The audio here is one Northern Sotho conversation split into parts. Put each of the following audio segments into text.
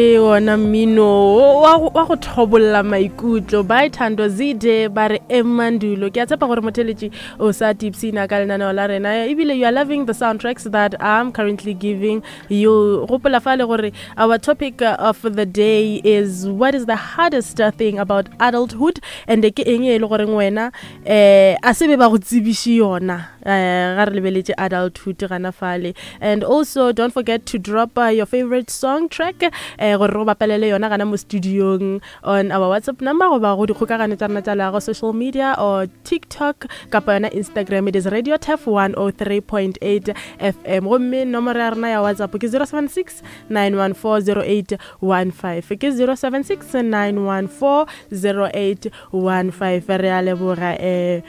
Ke wona mmino wa go thobolla maikutlo by Thando Zide ba re Emandulo. Ke a tshepa gore motheletši o sa tipsina ka lenaneo la rena ebile you are loving the soundtracks that I'm currently giving you. Gopola fale gore our topic of the day is what is the hardest thing about adulthood and ke eng e le goreng wena eh a se be ba go tsebiše yona eh ga re lebeletše adulthood gana fale. And also don't forget to drop uh, your favorite song track eh gore re go bapalele yona gana mo studiong on our WhatsApp number goba go dikgokagano tša rena tša leago social media or TikTok kapa yona Instagram. It is Radio Turf 103.8 FM. Gomme nomoro ya rena ya WhatsApp ke 076 914 0815 ke 076 914 0815. Re a leboga eh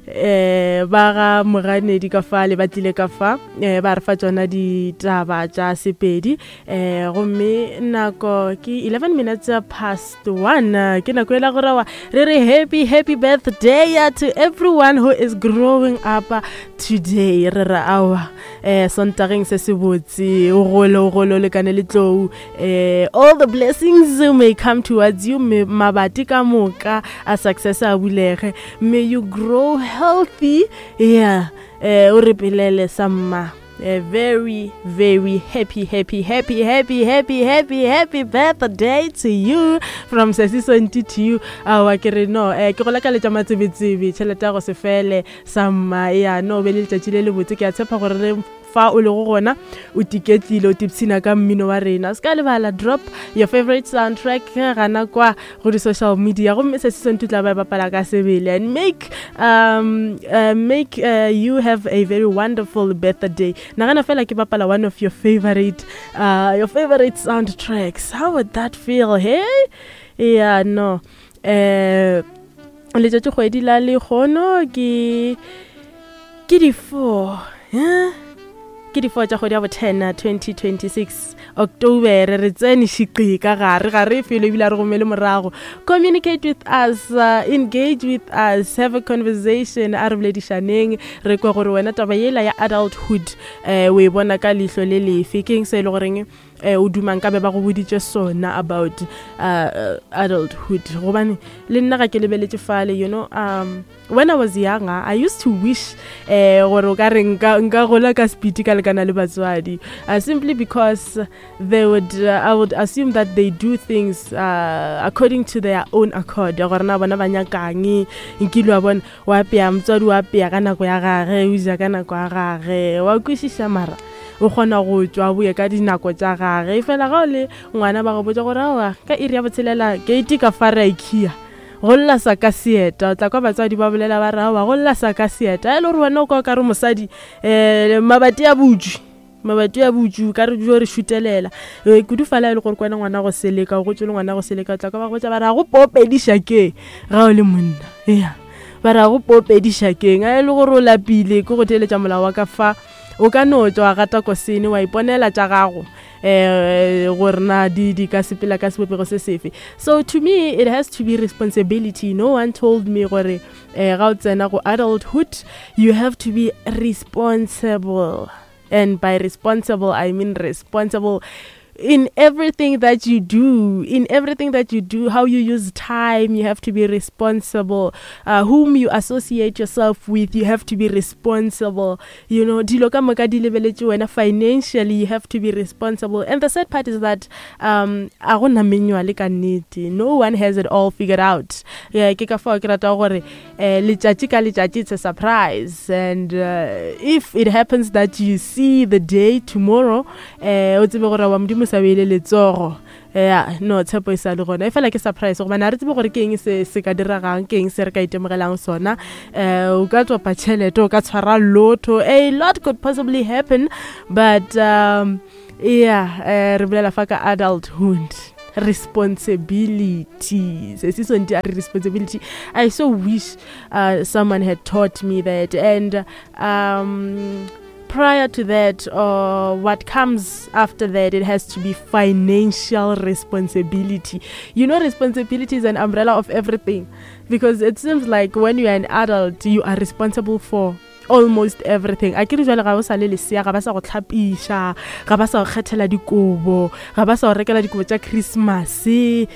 eh ba ga moganedi ka fa le ba tlile ka fa eh ba re fa tsona ditaba tša Sepedi eh gomme nako ke 11 minutes past 1 ke nako ela go rawa re re happy happy birthday to everyone who is growing up today. Re re awa eh sontageng se se botse o gole o gole o lekane le tlou eh all the blessings may come towards you, mabati ka moka a success a bulege. May you grow healthy. Yeah, eh o re pelele samma. A very, very happy, happy, happy, happy, happy, happy, happy birthday to you from Sesi Sonti to you. Awa ke re no, eh ke go lakaletša matsebetsebe, tšhelete ya go se fele samma. Ya no be le letšatši le le botse. Ke a tshepa gore re fa o lego gona o tiketlile o tipshina ka mmino wa rena. Se ka lebala drop your favorite soundtrack gana kwa go di-social media gomme se se sentse tla ba e bapala ka sebele and make um uh, make uh, you have a very wonderful birthday. Nagana fela ke bapala one of your favorite uh, your favorite soundtracks. How would that feel? Hey, yeah, no eh letšatši kgwedi la lekgono ke ke di-4 eh? Ke di-4 tša kgwedi ya bo 10 2026 October. Re tsene šiqi ka gare ga re felo ebile a re gomele morago. Communicate with us, engage with us, have a conversation. A re boledišaneng re kwe gore wena taba yela ya adulthood um o e bona ka leihlo le lefe. Ke eng se e le goreng eh o dumang ka be ba go boditše sona about uh, adulthood? Gobane le nna ga ke lebeletše fale, you know um when I was younger I used to wish eh gore o ka re nka nka gola ka speed ka lekana le batswadi, simply because they would I would assume that they do things according to their own accord, gore na bona ba nyakang. Nkile wa bona wa apea motswadi wa apea ka nako ya gage, o ja ka nako ya gage, wa kwešiša, mara o kgona go tšwa boye ka dinako tša gage. Fela ga o le ngwana ba go botša gore aowa ka iri ya botshelela gate ka fa re a ikhia go lla sa ka seeta. O tla kwa batswadi ba bolela ba re aowa go lla sa ka seeta, e le gore wena o kwa o ka re mosadi um mabati a butswe, mabati a butšu ka re jo re šutelela kudu fala e le gore kwana ngwana go seleka o gotse le ngwana go seleka. O tla kwa ba go botša ba re a go popediša ke ga o le monna ya ba re a go popediša keng a e le gore o lapile ke go theeletša molao wa ka fa. O ka no tšwa gata kosene wa iponela tša gago eh gore na di di ka sepela ka sebopego se sefe. So to me it has to be responsibility. No one told me gore eh ga o tsena go adulthood you have to be responsible, and by responsible I mean responsible in everything that you do, in everything that you do, how you use time, you have to be responsible. Whom you associate yourself with, you have to be responsible. You know, dilo ka moka di lebeletše wena financially, you have to be responsible. And the sad part is that a go na manual ka nnete. No one has it all figured out. Yeah, ke ka fao ke rata gore eh letšatši ka letšatši it's a surprise, and if it happens that you see the day tomorrow, eh o tsebe gore wa modimo sa beile letsogo. Ya no tshepo e sa le gona, e fela ke surprise gobane ga re tsebe gore ke eng se se ka diregang, ke eng se re ka itemogelang sona. Um o ka topa tšhelete, o ka tshwara lotto, a lot could possibly happen, but um yeah, re bolela fa ka adulthood responsibility. Se se sonti a re responsibility. I so wish someone had taught me that. And prior to that, or what comes after that, it has to be financial responsibility. You know, responsibility is an umbrella of everything, because it seems like when you are an adult, you are responsible for Almost everything. A ke re jwale ga o sa le lesea, ga ba sa go tlhapiša, ga ba sa go kgethela dikobo, ga ba sa go rekela dikobo tša Christmas, um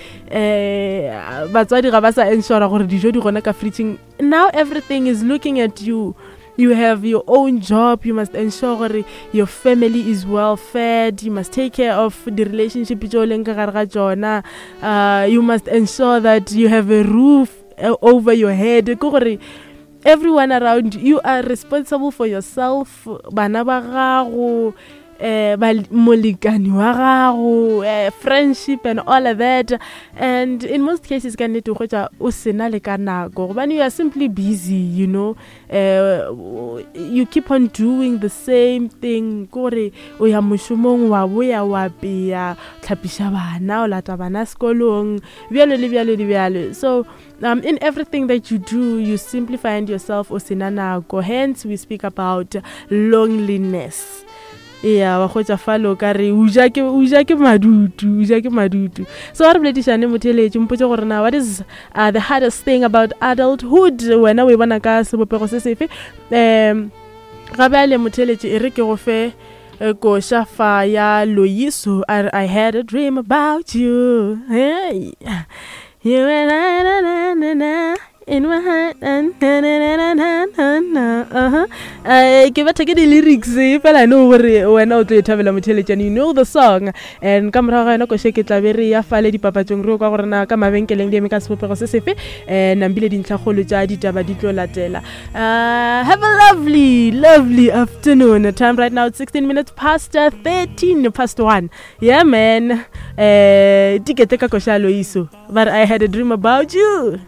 batswadi ga ba sa ensura gore dijo di gona ka fridging. Now everything is looking at you. You have your own job, you must ensure gore your family is well fed, you must take care of the relationship tše o leng ka gare ga tšona, you must ensure that you have a roof over your head. Ke gore everyone around you are responsible for yourself, bana ba gago, eh, molekani wa gago, eh, friendship and all of that. And in most cases ka nnete o hwetša o sena le ka nako, gobane you are simply busy, you know, eh, you keep on doing the same thing. Ke gore o ya mošomong, wa boya, wa pea, tlhapiša bana, o lata bana sekolong, bjalo le bjalo le bjalo. So in everything that you do, you simply find yourself o sena nako. Hence we speak about loneliness. Ya, wa hwetša fale o ka re o ja ke, o ja ke madutu, o ja ke madutu. So a re boledišane motheeletši, mpotše gore na what is the hardest thing about adulthood? Wena o e bona ka sebopego se sefe? Ga bjale motheeletši, e re ke go fe koša fa ya Loyiso, a re I had a dream about you. Hey. You and I, na, na, na, na, in my heart, na, na, na, na, na, na, na, uh-huh. Ke betha ke di-lyrics fela no gore wena o tlo e thabela motheeletšane, you know the song. And ka morago ga yona koše ke tla be re ya fale dipapatšong, re yo kwa gore na ka mabenkeleng di eme ka sebopego se sefe. Nambile dintlhakgolo tša ditaba di tlo latela. Have a lovely, lovely afternoon. Time right now it's 16 minutes past 13 past 1. Yeah man. Tikete ka koša Loiso. But I had a dream about you.